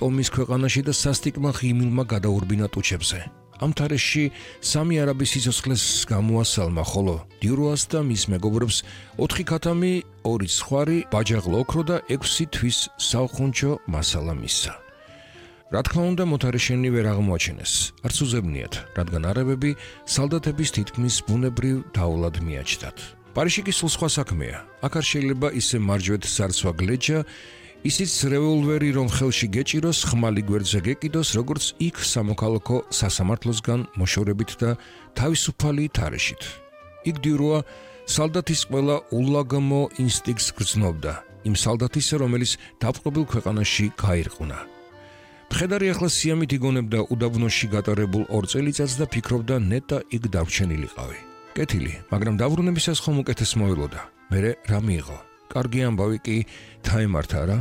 ტომის ქვეყანაში და სასტიკმა ღიმილმა გადაურბინა ტუჩებზე. ამ თარეში 3 არაბის სიცოცხლეს გამოასალმა, ხოლო დიუროას და მის მეგობრებს 4 ქათამი, 2 ცხვარი, ბაჯაღლო ოქრო და 6 თვის საუხუნჯო მასალა მისცა. რა თქმა უნდა, მოთარეშენი ვერ აღმოაჩენეს. არც უზებნიათ, რადგან არაბები სალდათების თითქმის ბუნებრივ დაულად მიაჩნდათ. პარიში კი სულ სხვა საქმეა. აქ არ შეიძლება ისე მარჯვეთ ზარცვა გლეჯა, ისიც რევოლვერი რომ ხელში გეჭიროს, ხმალი გვერდზე გეკიდოს, როგორც იქ სამოქალაქო სასამართლოსგან მოშორებით და თავისუფალი თარეშით. იქ დიუროა სალდათის ყველა ულაგმო ინსტინქტს გრძნობდა, იმ სალდათისა, რომელიც დაპყრობილ ქვეყანაში გაირყვნა. მხედარი ახლა სიამით იგონებდა უდაბნოში გატარებულ 2 წელიწადს და ფიქრობდა ნეტა იქ დარჩენილიყავი. კეთილი, მაგრამ დაბრუნებისას ხომ უკეთეს მოელოდა. მერე რა მიიღო? კარგი ამბავი კი დაემართა რა.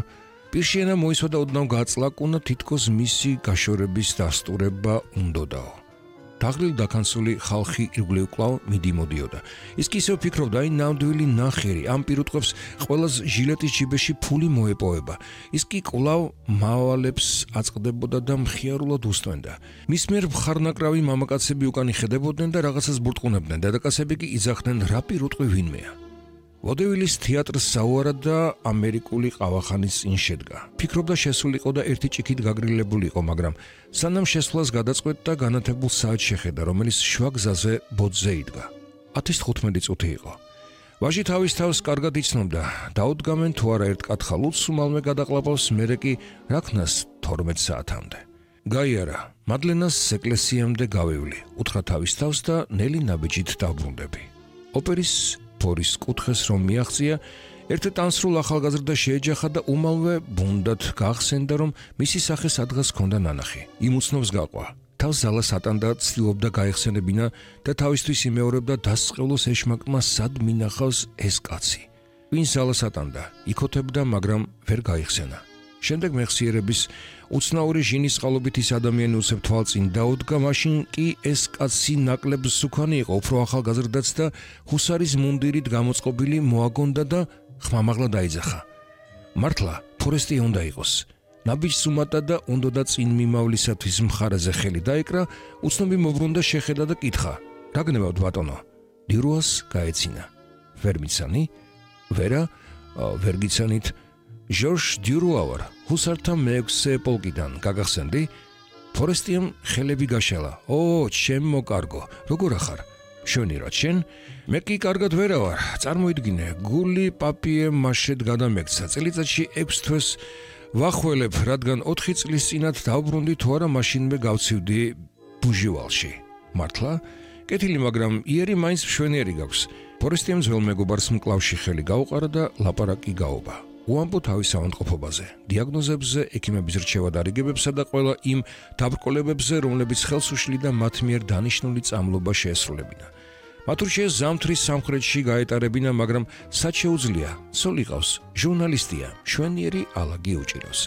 პირშენა მოისვა და ოდნავ გაწლაკუნა, თითქოს მისი გაშორების დასტურება უნდოდაო. დაღლილ დაქანცული ხალხი ირგვლივ კვლავ მიდიმოდიოდა. ის კი ისევ ფიქრობდა, აი ნამდვილი ნახიერი, ამ პირუტყვებს ყველას ჟილეტის ჯიბეში ფული მოეპოვება. ის კი კვლავ მავალებს აწყდებოდა და მხიარულად უსტვენდა. მის მიერ მხარნაკრავი მამაკაცები უკან იხედებოდნენ და რაღაცას ბურტყუნებდნენ. დედაკაცები კი იძახდნენ, რა პირუტყვი ვინმეა. ვოდევილის თეატრს საუარად და ამერიკული ყავახანის წინ შედგა. ფიქრობდა შესულიყო და ერთი ჭიქით გაგრილებულიყო, მაგრამ სანამ შესვლას გადაწყვეტდა, განათებულ საათს შეხედა, რომელიც შუა გზაზე ბოძზე იდგა. 10:15 წუთი იყო. ვაჟი თავის თავს კარგად იცნობდა, დაუდგამენ თუ არა ერთ კათხალულს უმალმე გადაყლაპავს, მერე კი რა ქნას 12 საათამდე. გაიარა, მადლენას ეკლესიამდე გავევლი, უთხრა თავის თავს და ნელი ნაბიჯით დავბრუნდები. ოპერის ფორის კუთხეს რომ მიაღწია, ერთ ტანსრულ ახალგაზრდა შეეჯახა და უმალვე ბუნდად გახსენდა, რომ მისი სახე სადღაც ჰქონდა ნანახი. იმ უცნობს გაყვა. თავს ზალას ატანდა, ცდილობდა გაეხსენებინა და თავისთვის იმეორებდა დასწყევლოს ეშმაკმა სად მინახავს ეს კაცი. ვინ ზალას ატანდა, იქოთებდა, მაგრამ ვერ გაიხსენა. შემდეგ მეხსიერების უცნაური ჟინის წყალობით ის ადამიანი უცებ თვალწინ დაუდგა, მაშინ კი ეს კაცი ნაკლებ სუქანი იყო, უფრო ახალგაზრდაც და ჰუსარის მუნდირით გამოწყობილი მოაგონდა და ხმამაღლა დაიძახა. მართლა, ფორესტი უნდა იყოს. ნაბიჯს უმატა და უნდოდა წინ მიმავლისათვის მხარეზე ხელი დაეკრა, უცნობი მობრუნდა, შეხედა და კითხა. რა გნებავთ ბატონო? დიუროას გაეცინა. ვერ მიცანი? ვერა, ვერ გიცანით. ჟორჟ დიუროა ვარ, ჰუსართა მე-6 პოლკიდან, გაგახსენდი? ფორესტიამ ხელები გაშალა. ო, ჩემო კარგო, როგორ ახარ? შენი რა შენ? მე კი კარგად ვერა ვარ, წარმოიდგინე, გული პაპიე მაშედ გადამექცა, წელიწადში 6 თვეს ვახველებ, რადგან 4 წლის წინათ დავბრუნდი თუ არა მაშინვე გავცივდი ბუჟივალში. მართლა? კეთილი, მაგრამ იერი მაინც მშვენიერი გაქვს. ფორესტიამ ძველ მეგობარს მკლავში ხელი გაუყარა და ლაპარაკი გაობა. უამბო თავის ავადმყოფობაზე, დიაგნოზებზე, ექიმების რჩევა დარიგებებსა და ყველა იმ დაბრკოლებებზე, რომლებიც ხელს უშლიდა მათ მიერ დანიშნული წამლობა შეესრულებინა. მათ ურჩიეს ზამთრის სამხრეთში გაეტარებინა, მაგრამ სად შეუძლია, ცოლ იყავს, ჟურნალისტია, მშვენიერი ალაგი უჭირავს.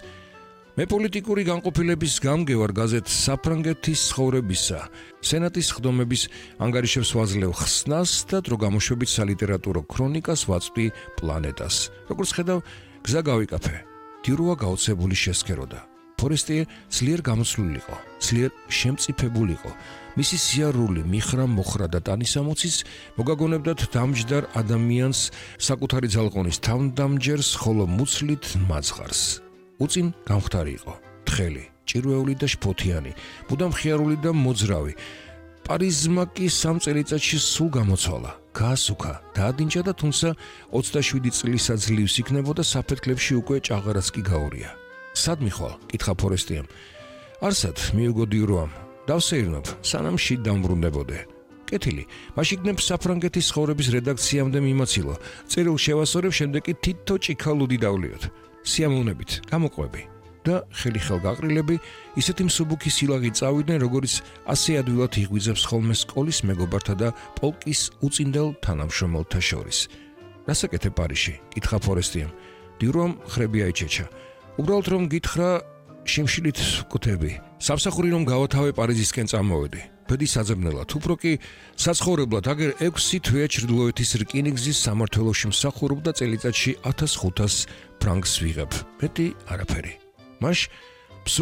მე პოლიტიკური განყოფილების გამგევარ გაზეთ საფრანგეთის ცხოვრებისა, სენატის ხდომების ანგარიშებს ვაძლევ ხსნას და დრო გამოშვებით სალიტერატურო ქრონიკას ვაწვდი პლანეტას. როგორც ხედავ, გზა გავიკაფე. დიუროა გაოცებული შესქეროდა. ფორესტიე ძლიერ გამოცლულიყო, ძლიერ შემწიფებულიყო. მისი სიარული, მიხრა, მოხრა და ტანისამოცის მოგაგონებდათ დამჯდარ ადამიანს საკუთარი ძალყონის თავდამჯერს, ხოლო მუცლით მაძღარს. უწინ გამხდარი იყო, თხელი, ჭირვეული და შფოთიანი, მუდამ ხიარული და მოძრავი. პარიზმა კი 3 წელიწადში სულ გამოცვალა, გაასუქა, დაადინჯა და თუმცა 27 წლისა ძლივს იქნებოდა, საფეთქლებში უკვე ჭაღარაც კი გაურია. სად მიხვალ? კითხა ფორესტიამ. არსად, მიუგო დიუროამ, დავსეირნობ, სანამ შიდ დამბრუნდებოდე. კეთილი, მაშინ იქნებ საფრანგეთის ცხოვრების რედაქციამდე მიმაცილო. წერილ შევასწორებ, შემდეგ კი თითო ჭიქალუდი დავლიოთ. სიამოვნებით, გამოყვები და ხელი-ხელ გაყრილები, ისეთი მსუბუქი სილაღი წავიდნენ, როგორც ასე ადვილად იღვიძებს ხოლმე სკოლის მეგობართა და პოლკის უწინდელ თანამშრომელთა შორის. რასაკეთებ პარიში? კითხა ფორესტიამ. დიუროამ ხრები აიჩეჩა. უბრალოდ რომ გითხრა, შიმშილით ვკუთები. სამსახური რომ გავათავე პარიზისკენ წამოვედი. ბედი საძებნელად, უფრო კი საცხოვრებლად, აგერ 6 თვეა ჩრდილოეთის რკინიგზის სამმართველოში მსახურობ და წელიწადში 1500 ფრანკს ვიღებ. მეტი არაფერი. მაშ